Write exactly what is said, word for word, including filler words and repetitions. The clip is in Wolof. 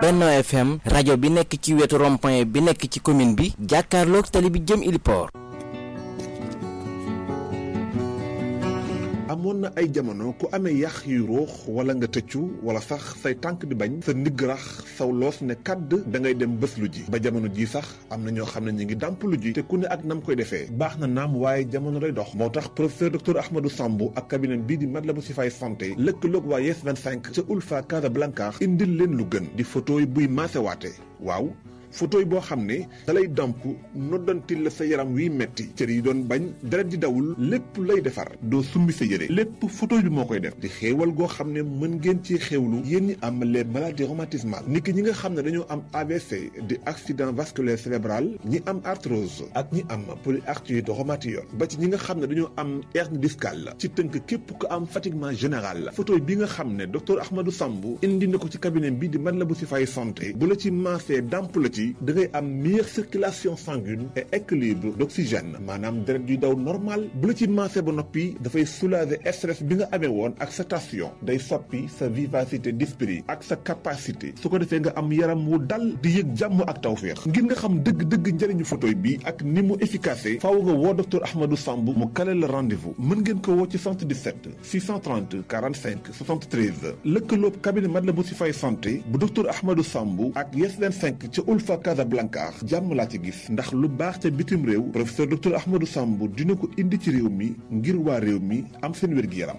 Benno F M rajo bi nekk ci wetu rond-point bi nekk ci commune bi jàkkaarloog tali bi jëm Iliport. amoon na ay jamono ku amee yax yu ruux wala nga tëccu wala sax say tànk di bañ sa ndigg rax saw loos ne kàdd da ngay dem bés lu ji ba jamono ji sax am na ñoo xam ne ñu ngi dàmp lu ji te ku ne ak nam koy defee baax na naam waaye jamono day dox moo tax professeur docteur Ahmadou Sambou ak cabinet bii di Matlaboul Chifaay santé lëkkaloog waa Yes vingt-cinq ca Ulfa Casablanca indil leen lu gën di photo yi buy maasewaate waaw photo yi boo xam ne dalay damp noddantil la sa yaram wiy metti cër yi doon bañ deret di dawul lépp lay defar doo summi sa yére lépp photo bi moo koy def di xéewal goo xam ne mën ngeen ci xéewlu yéen ñi am les maladies rhumatismales niki ñi nga xam ne dañoo am A V C di accident vasculaire cérébral ñi am arthrose ak ñi am polyarthrite rhumatoïde ba ci ñi nga xam ne dañoo am hernie discale ci tënk képp ko am fatiguement général la photo bi nga xam ne docteur Ahmadou Sambou indi na ko ci cabinet bi di Matlaboul Chifaay santé bu la ci maasee damp la ci da ngay am meilleure circulation sanguine et équilibre d'oxygène maanaam deret yuy daw normal bu la ci maasee ba noppi dafay soulager stress bi nga amee woon ak sa tension day soppi sa vivacité d'esprit ak sa capacité su ko defee nga am yaram wu dal di yëg jàmm ak tawféex ngir nga xam dëgg-dëgg njëriñu photo bi ak ni mu efficace faaw nga woo docteur Ahmadou Sambou mu kale la rendez-vous mën ngeen ko woo ci soixante-dix-sept six cent trente quarante-cinq soixante-treize lëkkaloob cabinet Matlaboul Chifaay santé bu docteur Ahmadou Sambou ak Yes vingt-cinq ca Ulfa Casablanca jàmm laa ci gis ndax lu baax ca bitim réew professeur docteur Ahmadou Sambou dina ko indi ci réew mi ngir waa réew mi am seen wér-gi-yaram